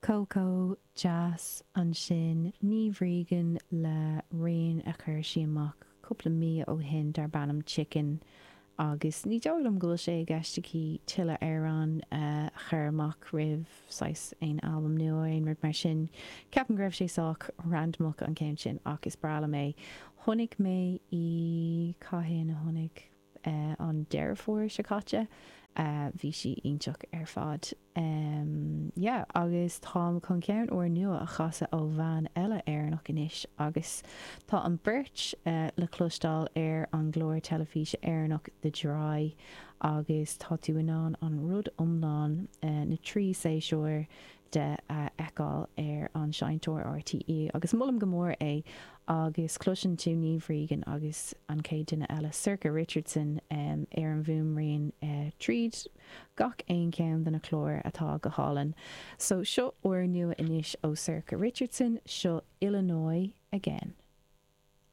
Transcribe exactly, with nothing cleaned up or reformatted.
Cócó Deas ansin Niamh Regan le rian a chuir sí amach cúpla mí ó shin darb ainm Chicken agus ní dóigh liom go bhfuil sé i gceist aici tuilleadh amhrán a chur amach roimh saghas aon albam nua aon rud mar sin. Ceapaim go raibh sé sách randamach an ceann sin ach is breá liom é. Chonaic mé í cathain a chonaic uh, an Deireadh Fómhair seo caite. Uh, bhí sí iontach ar fad. Um, yeah, agus táim chun ceann úr nua a chasadh ó bhean eile Éireannach anois agus tá an beirt uh, le cloisteáil ar an gclár teilifíse Éireannach The Dry agus tá tú in ann an rud iomlán uh, na trí séasúr de a fheiceáil ar an seinnteoir RTÉ agus molaim go mór é agus cloiseann tú Niamh Regan agus an chéad duine eile Sorcha Richardson um, ar an bhfuaimrian uh, tríd gach aon ceann de na cláir atá go hálainn. So seo úr nua anois ó Sorcha Richardson seo Illinois again.